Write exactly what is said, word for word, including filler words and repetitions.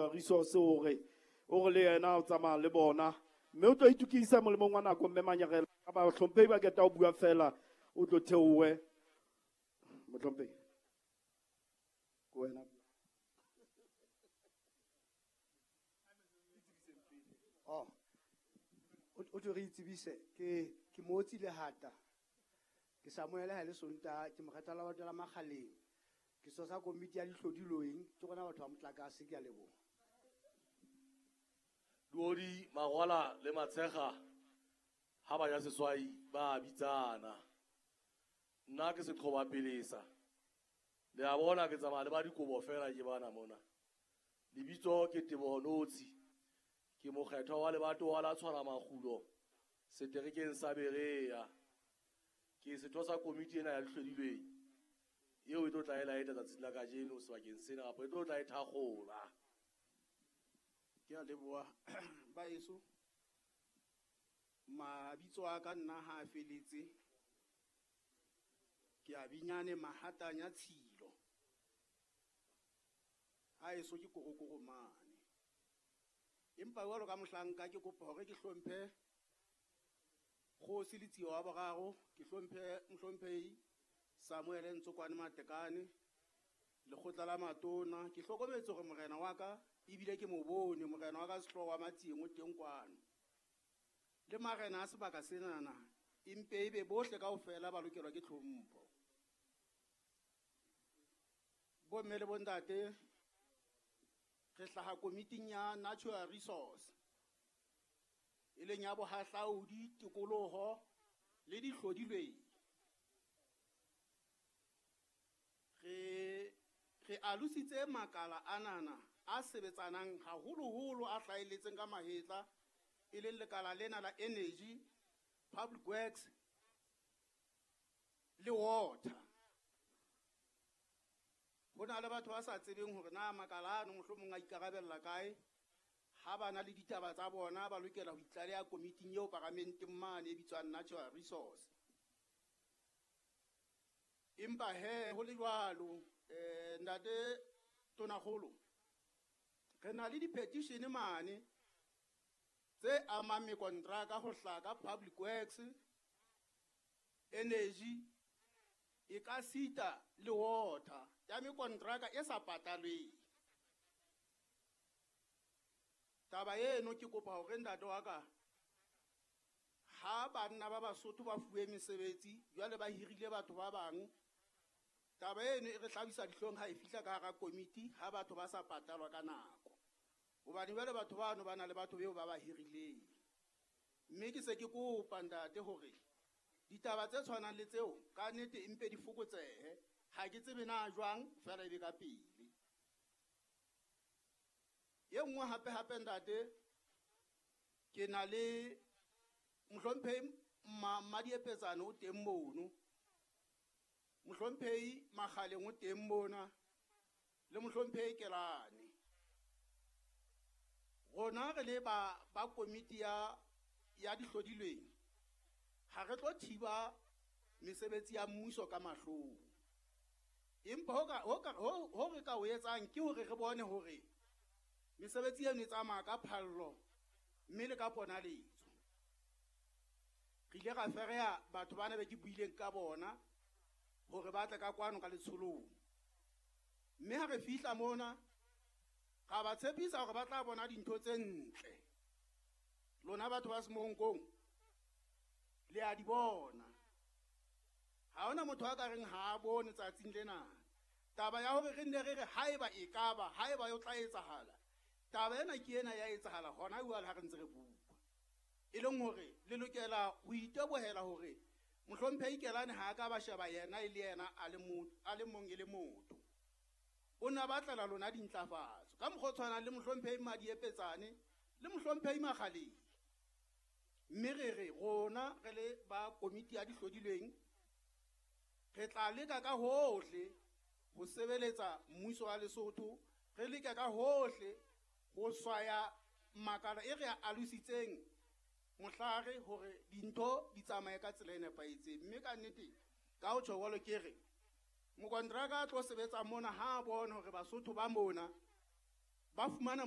Natural Resource hore o re le yena o tsamaya le bona mme o tlo itukisa molemong wa nako mme Manyarela ka bahlomphehi ba keta ho bua fela o tlo theohe mohlomphehi ke wena. Oh, o tlo re itsebise ke ke Motsi Lehata. Ke Samuel ha le Sonta ke mokgathala wa batho la Makgaleng. Ke sosa komiti ya dihlodilweng ke rona batho ba motlakase ke a leboha. Duodi Magwala le Matshega ha ba ja seswai ba bitsana. Nna ke seqhoba pelesa. Le a bona ke tsamaya le ba dikobo fela ke bana mona. Lebitso ke Teboho Notsi. Ke mokgethwa wa lebatowa la Tshwara Makgulo seterekeng sa Berea. Ke setho sa komiti ena ya dihlodilweng eo e tlo tla e laeta tsatsing la kajeno sebakeng sena kapa e tlo tla e thakgola. Ke a leboha baeso. Mabitso a ka nna ha a feletse. Ke a binyane Mahatanya Tshilo. Haeso ke korokoro mane. Empa jwalo ka mohlanka ke kopa hore ke hlomphe Kgosi Letsie wa boraro, ke hlomphe mohlomphehi Samuel Ntsokwane Matekane, lekgotla la matona. Ke hlokometse hore morena wa ka ebile ke mo bone morena wa ka Sehlooho wa Matsieng o teng kwano. Le marena a sebaka senana empe ebe bohle kaofela ba lokelwa ke tlhompho. Bomme le bontate, re hlaha komiting ya Natural Resource e leng ya bohahlaudi, tikoloho le dihlodilweng. Re re alositse makala anana a sebetsanang haholoholo a hlahelletseng ka mahetla e leng lekala lena la energy, public works le water. Ho na le batho ba sa tsebeng hore na makala ano mohlomong a ikarabella kae. Ha ba na le ditaba tsa bona ba lokela ho itlaleha komiting eo paramenteng mane e bitswang Natural Resource. Empa he ho le jwalo, eh ntate Tonakgolo, re na le di-petition mane tse amang mekontraka ho hlaka public works, energy, e ka sita le water ya mekontraka e sa patalweng. Taba eno ke kopa hore ntate wa ka ha banna ba Basotho ba fuwe mesebetsi jwale ba hirile batho ba bang, taba eno e re hlabisa dihlong ha e fihla ka hara komiti ha batho ba sa patalwa ka nako. Hobane jwale batho bano ba na le batho beo ba ba hirileng. Mme ke se ke kopa ntate hore ditaba tse tshwanang le tseo ka nnete empe di fokotsehe. Ha ke tsebe na jwang fela ebe ka pele. E nngwe hape hape ntate, ke na le mohlomphehi Mmadiepetsane o teng mono, mohlomphehi Makgaleng o teng mona le mohlomphehi Kelane. Rona re le ba ba komiti ya ya dihlodilweng ha re tlo thiba mesebetsi ya mmuso ka mahlong. Empa ho ka ho ka ho re ka o etsang ke hore re bone hore mesebetsi eno e tsamaya ka phallo mme le ka ponaletso. Re ile ra fereha batho bana be ke buileng ka bona hore ba tle ka kwano ka letsholong. Mme ha re fihla mona ra ba tshepisa hore ba tla bona dintho tse ntle. Lona batho ba Semonkong le a di bona. Ha hona motho a ka reng ha a bone tsatsing lena. Taba ya hore re nne re re haeba e kaba, haeba yo tla etsahala, taba ena ke ena ya etsahala hona jwale ha re ntse re bua. E leng hore le lokela ho itebohela hore mohlomphehi Kelane ha a ka ba sheba yena e le yena a le motho, a le mong e le motho. O ne a batlela lona dintlafatso ka mokgwa o tshwanang le mohlomphehi Mmadiepetsane le mohlomphehi Makgaleng. Mme re re rona re le ba komiti ya dihlodilweng re tla leka ka hohle ho sebeletsa mmuso wa Lesotho, re leka ka hohle ho swaya makala e re a alositseng mohlare hore dintho di tsamaye ka tsela e nepahetseng. Mme ka nnete ka ho tjho jwalo ke re mokontraka a tlo sebetsa mona ha a bona hore Basotho ba mona ba fumana